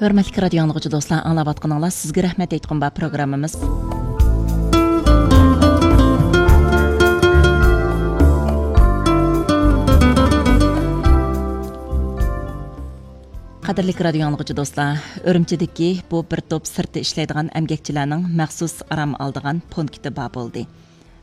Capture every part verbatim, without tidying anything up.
ھۆرمەتلىك رادىيو ئاڭلىغۇچى دوستلار، ئاڭلاۋاتقىنىڭلار سىزگە رەھمەت ئېيتقۇم بار پروگراممىمىز. قەدىرلىك رادىيو ئاڭلىغۇچى دوستلار، ئۈرۈمچىدىكى بۇ بىر توپ سىرتتا ئىشلەيدىغان ئەمگەكچىلەرنىڭ مەخسۇس ئارام ئالىدىغان پونكىتى بار بولدى.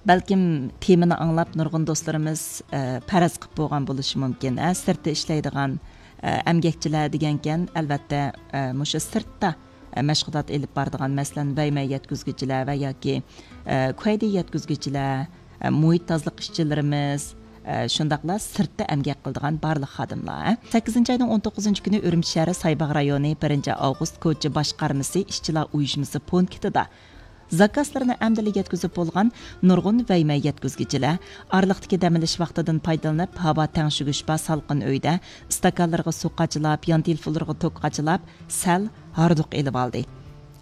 بەلكىم تېمىنى ئاڭلاپ نۇرغۇن دوستلىرىمىز، ئە، پەرەز قىلىپ بولغان بولۇشى مۇمكىن. ئە، سىرتتا ئىشلەيدىغان، ئە، ئەمگەكچىلەر دېگەنكەن، ئەلۋەتتە، ئە، مۇشۇ سىرتتا، ئە، مەشغۇلات ئېلىپ بارىدىغان، مەسىلەن، ۋەيمەي يەتكۈزگۈچىلەر ۋە ياكى، ئە، كۇەيدى يەتكۈزگۈچىلەر، ئە، مۇھىت تازىلىق ئىشچىلىرىمىز، ئە، شۇنداقلا سىرتتا ئەمگەك قىلىدىغان بارلىق خادىملار. سەككىزىنچى ئاينىڭ ئون توققۇزىنچى كۈنى ئۈرۈمچى شەھىرى سايباغ رايونى بىرىنچى ئاۋغۇست كوچا باشقارمىسى ئىشچىلار ئۇيۇشمىسى پونكىتىدا زاكازلىرىنى ئەمدىلا يەتكۈزۈپ بولغان نۇرغۇن ۋەيمەي يەتكۈزگۈچىلەر ئارىلىقتىكى دەم ئېلىش ۋاقتىدىن پايدىلىنىپ، ھاۋا تەڭشىگۈچ بار سالقىن ئۆيدە ئىستاكانلىرىغا سۇ قاچىلاپ، يان تېلېفونلىرىغا توك قاچىلاپ، سەل ھاردۇق ئېلىۋالدى.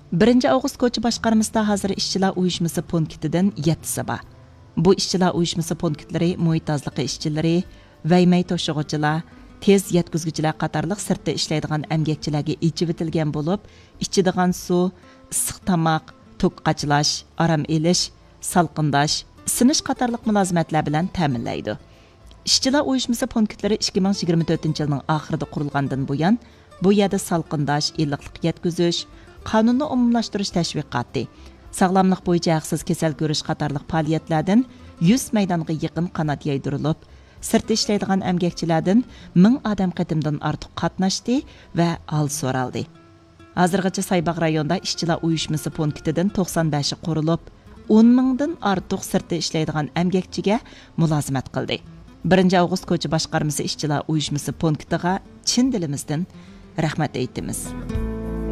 بىرىنچى ئاۋغۇست كوچا باشقارمىسىدا ھازىر ئىشچىلار ئۇيۇشمىسى پونكىتىدىن يەتتىسى بار. بۇ ئىشچىلار ئۇيۇشمىسى پونكىتلىرى مۇھىت تازىلىقى ئىشچىلىرى، ۋەيمەي توشۇغۇچىلار، تېز يەتكۈزگۈچىلەر قاتارلىق سىرتتا ئىشلەيدىغان ئەمگەكچىلەرگە ئېچىۋېتىلگەن بولۇپ، ئىچىدىغان سۇ، ئىسسىق تاماق، توك قاچىلاش، ئارام ئېلىش، سالقىنداش، ئىسسىنىش قاتارلىق مۇلازىمەتلەر بىلەن تەمىنلەيدۇ. ئىشچىلار ئۇيۇشمىسى پونكىتلىرى ئىككى مىڭ يىگىرمە تۆتىنچى يىلنىڭ ئاخىرىدا قۇرۇلغاندىن بۇيان، بۇ يەردە سالقىنداش، ئىللىقلىق يەتكۈزۈش، قانۇننى ئومۇملاشتۇرۇش تەشۋىقاتى، ساغلاملىق بويىچە ھەقسىز كېسەل كۆرۈش قاتارلىق پائالىيەتلەردىن يۈز مەيدانغا يېقىن قانات يايدۇرۇلۇپ، سىرتتا ئىشلەيدىغان ئەمگەكچىلەردىن مىڭ ئادەم قېتىمدىن ئارتۇق قاتناشتى ۋە ھال سورالدى. ھازىرغىچە سايباغ رايونىدا ئىشچىلار ئۇيۇشمىسى پونكىتىدىن توقسان بەشى قۇرۇلۇپ، ئون مىڭدىن ئارتۇق سىرتتا ئىشلەيدىغان ئەمگەكچىگە مۇلازىمەت قىلدى. بىرىنچى ئاۋغۇست كوچا باشقارمىسى ئىشچىلار ئۇيۇشمىسى پونكىتىغا چىن دىلىمىزدىن رەھمەت ئېيتىمىز.